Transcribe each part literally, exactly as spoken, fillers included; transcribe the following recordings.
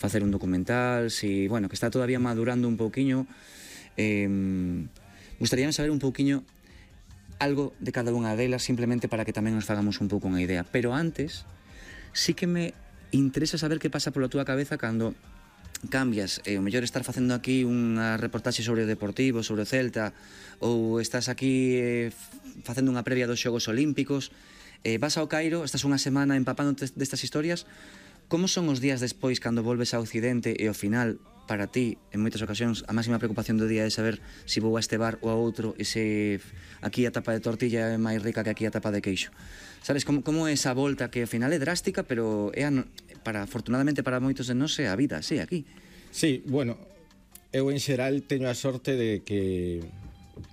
facer un documental, si, bueno, que está todavía madurando un pouquiño. Eh, gustaríame saber un pouquiño algo de cada unha delas, simplemente para que tamén nos fagamos un pouco unha idea. Pero antes, sí que me interesa saber que pasa pola túa cabeza cando cambias, e eh, o mellor estar facendo aquí unha reportaxe sobre o Deportivo, sobre o Celta, ou estás aquí eh, facendo unha previa dos Xogos Olímpicos, eh, vas ao Cairo, estás unha semana empapándote destas historias. Como son os días despois cando volves a Occidente e ao final, para ti, en moitas ocasións, a máxima preocupación do día é saber se vou a este bar ou a outro e se aquí a tapa de tortilla é máis rica que aquí a tapa de queixo? Sabes, como, como é esa volta que ao final é drástica, pero é a, para, afortunadamente para moitos de nós é a vida, sí, aquí. Sí, bueno, eu en xeral teño a sorte de que,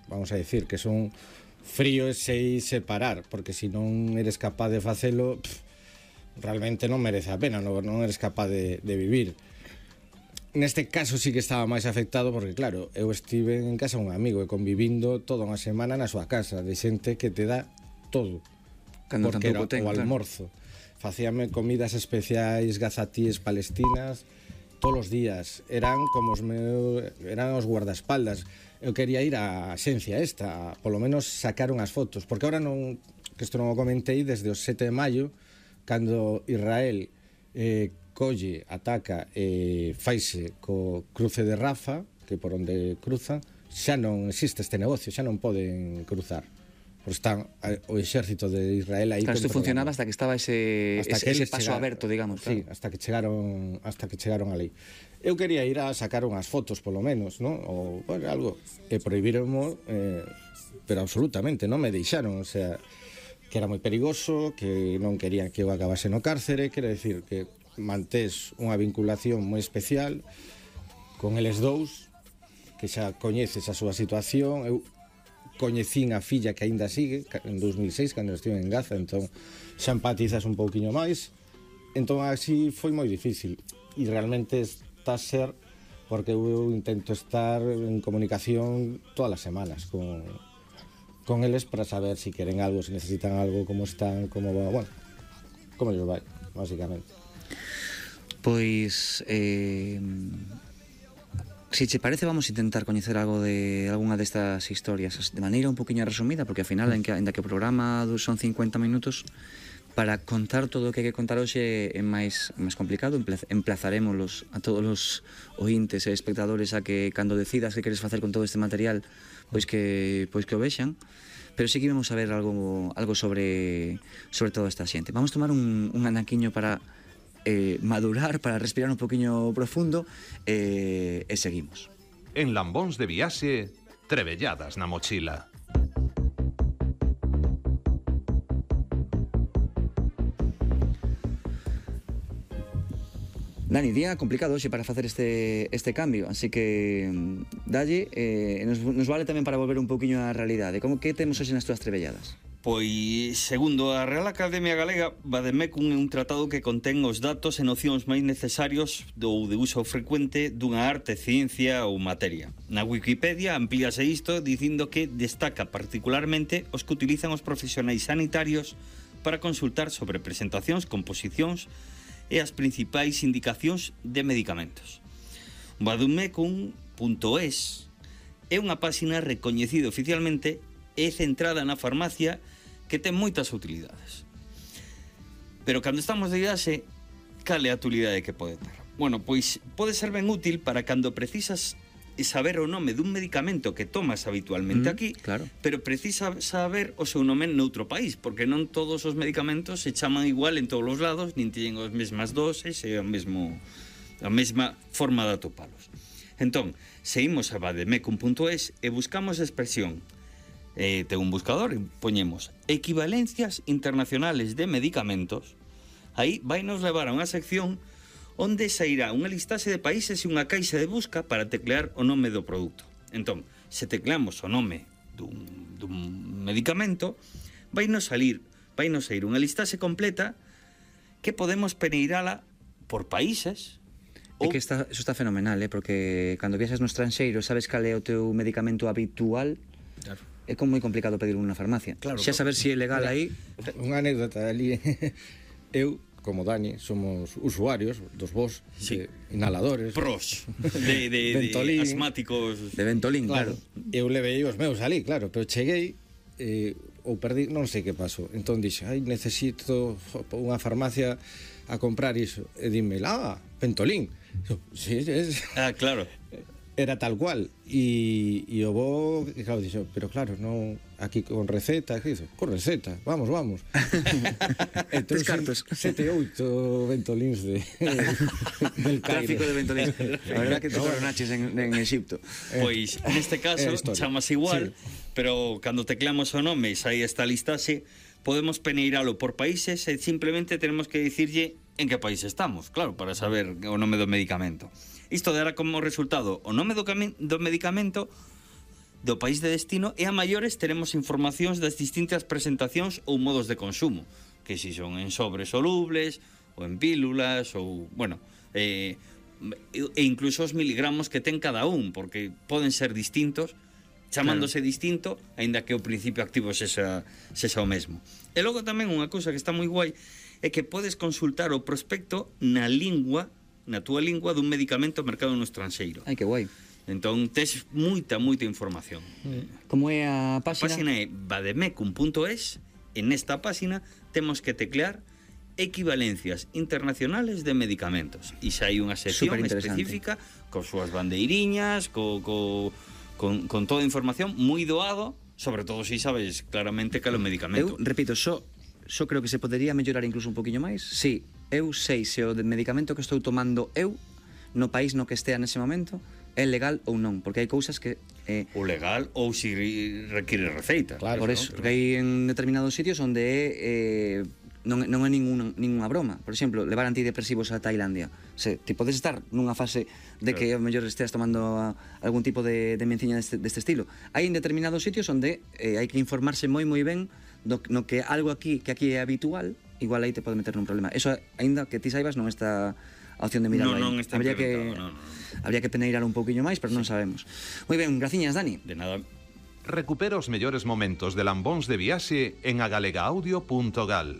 vamos a decir, que son frío e sei separar, porque se non eres capaz de facelo, pff, realmente non merece a pena, non, non eres capaz de, de vivir. Neste caso sí que estaba máis afectado porque, claro, eu estive en casa un amigo e convivindo toda unha semana na súa casa de xente que te dá todo. Cando porque era ten, o almorzo. Claro. Facíame comidas especiais, gazatíes palestinas todos os días. Eran como os meus, eran os guardaespaldas. Eu quería ir á xencia esta, polo menos sacar unhas fotos, porque ahora non, que isto non o comentei, desde o sete de maio, cando Israel eh, colle, ataca e faise co cruce de Rafa, que por onde cruzan, xa non existe este negocio, xa non poden cruzar. Porque están o exército de Israel aí. Claro, isto funcionaba hasta que estaba ese, hasta ese, que ese paso chegar, aberto, digamos. Sí, claro. hasta que chegaron hasta que chegaron a lei. Eu quería ir a sacar unhas fotos, polo menos, ¿no? Ou, bueno, algo, e prohibironmo, eh, pero absolutamente, non me deixaron, o sea, que era moi perigoso, que non querían que eu acabase no cárcere, quero decir que mantés unha vinculación moi especial con eles dous, que xa coñeces a súa situación. Eu coñecín a filla que aínda sigue en dos mil seis, cando estive en Gaza, entón xa empatizas un pouquiño máis. Entón así foi moi difícil, e realmente está a ser porque eu intento estar en comunicación todas as semanas con con eles para saber se si queren algo, se si necesitan algo, como están, como va, bueno, como lles vai, basicamente. Pois, eh, se che parece, vamos a intentar coñecer algo de algunha destas historias de maneira un poquinho resumida, porque ao final, en que, en que o programa son cincuenta minutos, para contar todo o que hai que contar hoxe é máis, máis complicado. Emplazaremos a todos os ointes e espectadores a que, cando decidas que queres facer con todo este material, pois que pois que o vexan, pero sí que vamos a ver algo algo sobre sobre toda esta xente. Vamos tomar un, un anaquiño para eh, madurar, para respirar un poquinho profundo, eh, e seguimos. En Lambóns de Viaxe, Trebelladas na mochila. Dani, día complicado hoxe para facer este, este cambio, así que dalle, eh, nos, nos vale tamén para volver un pouquiño á realidade. Como que temos hoxe nas túas trebelladas? Pois, segundo a Real Academia Galega, Vademecum é un tratado que contén os datos e nocións máis necesarios do de uso frecuente dunha arte, ciencia ou materia. Na Wikipedia amplíase isto dicindo que destaca particularmente os que utilizan os profesionais sanitarios para consultar sobre presentacións, composicións e as principais indicacións de medicamentos. Vademecum punto es é unha páxina recoñecida oficialmente e centrada na farmacia que ten moitas utilidades. Pero cando estamos de viaxe, cal é a utilidade que pode ter? Bueno, pois pode ser ben útil para cando precisas saber o nome dun medicamento que tomas habitualmente mm, aquí, claro. Pero precisa saber o seu nome noutro país, porque non todos os medicamentos se chaman igual en todos os lados, nin teñen as mesmas doses e o mesmo, a mesma forma de atopalos. Entón, se imos a vademecum punto es e buscamos a expresión, eh, ten un buscador, e poñemos equivalencias internacionales de medicamentos, aí vai nos levar a unha sección onde sairá unha listaxe de países e unha caixa de busca para teclear o nome do produto. Entón, se tecleamos o nome dun, dun medicamento, vai nos salir, vai nos sair unha listaxe completa que podemos peneirala por países. É que está, eso está fenomenal, eh? Porque cando viaxas no estranxeiro sabes cal é o teu medicamento habitual, claro. É como moi complicado pedirlo nunha farmacia. Claro, xa saber se si é legal mira, aí. Unha anécdota ali. Eu como Dani, somos usuarios dos vos, Sí. de inhaladores. Pros de, de, de Ventolín. asmáticos. De Ventolín, claro. Claro, eu levei os meus ali, claro, pero cheguei eh, ou perdí, non sei que pasou. Entón dixe, ai, necesito unha farmacia a comprar iso. E dime, ah, Ventolín. Eu, sí, es... Ah, claro. Era tal cual. E, e o bo, claro, dixo, pero claro, non aquí con receta, que hizo? Con receta, vamos, vamos. Tres cartos. Sete, oito Ventolins de, del Cairo. Tráfico de Ventolín. A verdad que te coronaches en, en Egipto. Pois, neste caso, é a historia. chamase igual, Sí. pero cando tecleamos o nome e sai esta listaxe, podemos peneiralo por países e simplemente tenemos que dicirlle en que país estamos, claro, para saber o nome do medicamento. Isto dará como resultado o nome do, do medicamento, do país de destino, e a maiores teremos informacións das distintas presentacións ou modos de consumo, que si son en sobres solubles, ou en pílulas, ou, bueno, eh, e incluso os miligramos que ten cada un, porque poden ser distintos, chamándose claro. distinto, aínda que o principio activo sexa, sexa o mesmo. E logo tamén unha cousa que está moi guai é que podes consultar o prospecto na lingua, na túa lingua, dun medicamento mercado no estranxeiro. Ai, que guai. Entón, tes moita, moita información. Como é a A páxina? páxina é vademecum punto es, e nesta páxina temos que teclear equivalencias internacionales de medicamentos. E xa hai unha sección Superinteresante. específica con súas bandeiriñas, co, co, con, con toda a información moi doado, sobre todo se si sabes claramente cal é o medicamento. Eu, repito, só, só creo que se podería mellorar incluso un poquinho máis. Si, eu sei se o de medicamento que estou tomando eu, no país no que estea nese momento, é legal ou non, porque hai cousas que eh, O legal ou si require receita. Claro, por ¿no? eso, porque hai en determinados sitios onde é eh, non, non é ninguna, ninguna broma. Por exemplo, levar antidepresivos a Tailandia. Se, ti podes estar nunha fase de que ao mellor esteas tomando a, algún tipo de, de menciña deste, deste estilo. Hai en determinados sitios onde eh, hai que informarse moi moi ben do, no que algo aquí que aquí é habitual, igual aí te pode meter nun problema. Eso, aínda que ti saibas, non está a opción de mirarlo Non, aí. non está habría que, implementado, non, non. habría que peneirar un pouquiño máis, pero non sabemos. Moi ben, graciñas, Dani. De nada. Recupera os mellores momentos de Lambóns de Viaxe en agalega audio punto gal.